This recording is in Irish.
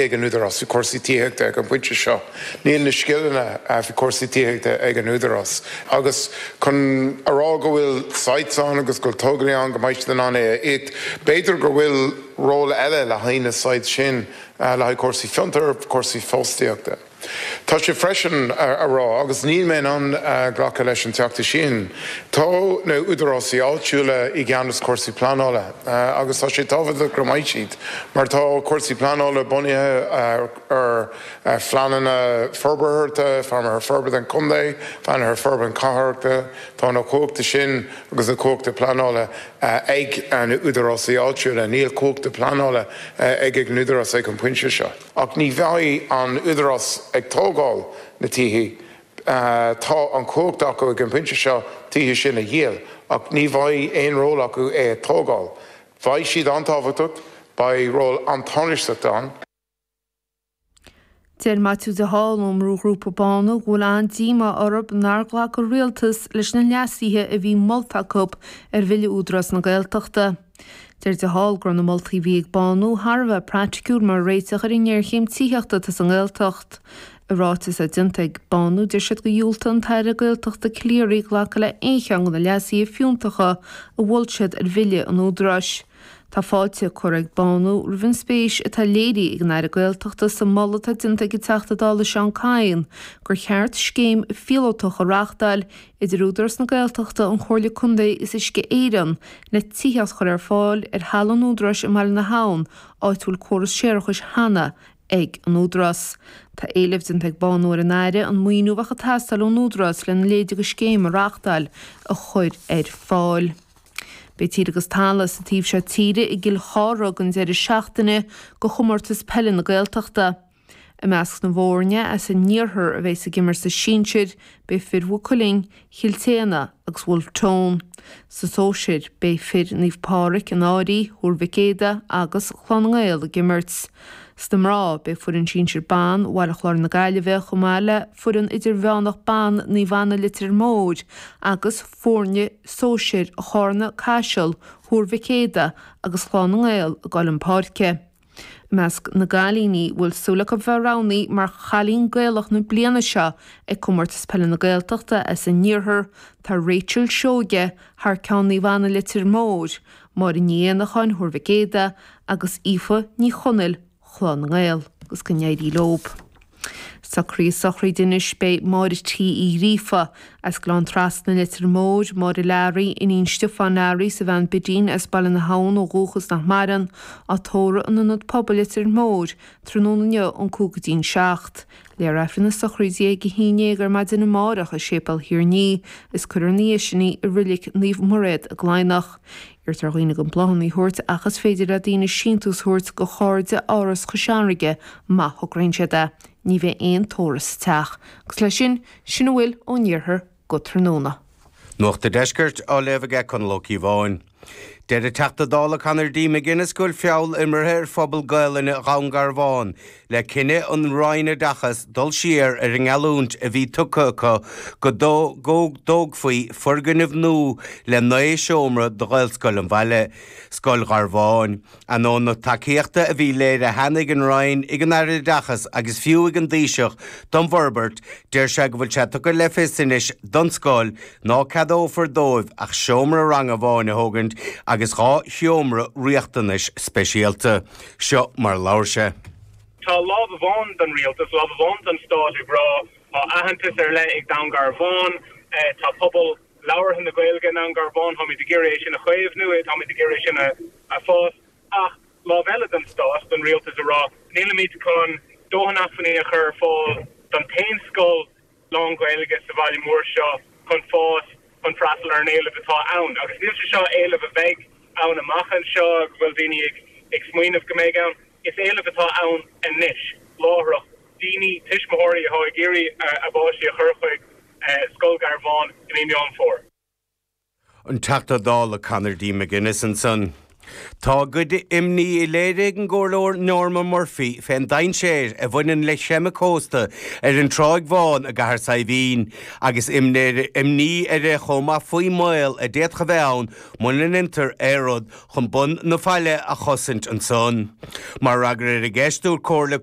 Ag an Údarás faoi chúrsaí tithíochta ag an bpointe seo. Níl na scileanna faoi chúrsaí tithíochta ag an Údarás agus chun a rá go bhfuil sites ann agus go bhfuil tógálaí ann go mbeidh siad in ann é a íoc, b'fhéidir go bhfuil ról eile le haghaidh na sites sin le haghaidh cúrsaí fiontair, cúrsaí fostaíochta. Tá sé freisin a rá, agus níl mé in ann glacadh leis an Teachta sin, tá na údarásaí áitiúla i gceannas cúrsaí pleanála agus tá sé tábhachtach go mbeidh siad mar tá cúrsaí pleanála bunaithe ar phleananna forbartha, phleananna forbartha an chontae, phleananna forbartha cathrach, tá na cumhachta sin agus na cumhachta pleanála ag na údarásaí áitiúla, níl cumhachta pleanála ag an údarás ag an bpointe seo. Ach ní bheidh an Údarás ag tógáil na tithe. Tá an chumhacht acu ag an bpointe seo tithe sin a dhíol, ach ní bheidh aon ról acu é a tógáil. Beidh siad an-tábhachtach, beidh ról an-tánaisteach ann. Deir Maitiú de Hál ón mbrúghrúpa Bánú go bhfuil an-díomá orthu nár ghlac an Rialtas leis na leasuithe a bhí molta acu ar Bhille Údarás na Gaeltachta. Deir de Hál go raibh na moltaí a bhí ag Bánú thar a bheith praiticiúil mar réiteach ar an ngéarchéim tithíochta atá sa nGaeltacht. I ráiteas atá déanta ag Bánú deir siad gur dhiúltaigh an tAire Gaeltachta Calleary glacadh le aon cheann de na leasuithe fiúntacha a mhol siad ar Bhille an Údaráis. Tá fáilte curtha ag Bánú roimh an spéis atá léirithe ag an Aire Gaeltachta sa moladh atá déanta ag an Teachta Dála Seán Kyne gur cheart scéim phíolótach a reáchtáil idir Údarás na Gaeltachta, an Chomhairle Contae is Uisce Éireann le tithíocht a chur ar fáil ar thalamh an Údaráis i mBaile na hAbhann, áit a bhfuil córas séarachais cheana ag an Údarás. Tá éileamh déanta ag Bánú ar an Aire an maoiniú a bheadh ag teastáil ón Údarás lena leithéid de scéim a reáchtáil a chur ar fáil. Beidh Tír agus Talamh sa taobh seo tíre i gCill Chartha don deireadh seachtaine do Chomórtas Peile na Gaeltachta. I measc na bhfoirne as an iarthar a bheas ag imirt sa sinsir, beidh fir Mhaigh Cuilinn, Chill tSéadhna agus Bhulf Tón. Sa sóisir, beidh fir Naomh Pádraig, an Áirí, Thuar Mhic Éadaigh agus Clann na nGael ag imirt. Sna mná, beidh foireann sinsir ban Bhaile Chláir na Gaillimhe chomh maith le foireann idirmheánach ban Naomh Anna Leitir Móir agus foirne sóisir Charna, Caiseal, Thuar Mhic Éadaigh agus Chlann na nGael ag dul chun páirce. I measc na gcailíní a bhfuil súil acu bheith roghnaithe mar Chailín Gaelach na bliana seo ag Comórtas Peile na Gaeltachta as an iarthar tá Rachel Seoige thar ceann Naomh Anna Leitir Móir, Máire Ní Éanacháin Thuar Mhic Éadaigh agus Aoife Ní Chonaill Chlann na nGael agus go n-éirí leob. Socruithe sochraide anois beidh Máire T Uí Ghríofa as Gleann Trasna, Leitir Móir, Máire Learaí, iníon Stiofáin Learaí is a bhean Bidín as Baile na hAbhann ó dhúchas nach maireann, á tórramh in Ionad Pobail Leitir Móir tráthnóna inniu ón 5 go dtí'n 7. Léifear Aifreann na sochraide ag 11 ar maidin amárach i Séipéal Thír an Fhia is cuirfear ina dhiaidh sin í i Reilig Naomh Mairéad i gCladhnach. Iarrtar ar dhaoine gan bláthanna a thabhairt ach is féidir le daoine síntiús a thabhairt go Chairde Áras Chois Fharraige má thograíonn siad é. Ní bheidh aon tórramh sa teach. Agus leis sin, sin a bhfuil ón iarthar go tráthnóna. Nuacht an Deiscirt á léamh aige Conall Ó Cíobháin. Deir an Teachta Dála Conor D. McGuinness go bhfuil feall imeartha ar phobal Gaelainne Dhún Garbhán le cinneadh an Roinn Oideachais dul siar ar an ngeallúint a bhí tugtha acu go dtógfaí foirgneamh nua le 9 seomra do Ghaelscoil an bhaile, Scoil Gharbháin. Ainneoin na tacaíochta a bhí léirithe cheana ag an Roinn, ag an Aire Oideachais agus fiú ag an Taoiseach don bhforbairt, deir sé go bhfuil sé tugtha le fios anois don scoil ná ceadófar dóibh ach seomra ranga amháin a thógaint agus 2 sheomra riachtanais speisialta. Seo mar a labhair sé. Tá lámh amháin den rialtas, lámh amháin den stát ag rá tá aitheantas ar leith ag Dún Garbhán, tá pobal labhartha na Gaeilge i nDún Garbhán, táimid ag iarraidh é sin a chaomhnú, táimid ag iarraidh é sin a fás, ach lámh eile den stát, den rialtas ag rá nílimid chun dóthain acmhainní a chur ar fáil don t-aon scoil lán-Ghaeilge sa bhaile mór seo chun fás, chun freastal ar an éileamh atá ann. Agus níl sé seo éileamh a bheidh ann amach anseo, go bhfuil daoine ag smaoineamh go mbeidh ann. Is éileamh atá ann anois, láithreach, daoine, tuismitheoirí atá ag iarraidh a bpáistí a chur chuig Scoil Gharbháin i mí Meán Fómhair. An Teachta Dála Conor D. McGuinness ansan. Tá a gcuid imní léirithe ag an gComhairleoir Norma Murphy fén dainséar a bhaineann le creimeadh cósta ar an Tráigh Bhán i gCathair Saidhbhín agus imní uirthi chomh maith faoin mbaol a d'fhéadfadh a bheith ann muna ndeintear aon rud chun bun na faille a chosaint ansan. Mar fhreagra ar an gceist, dúirt Comhairle.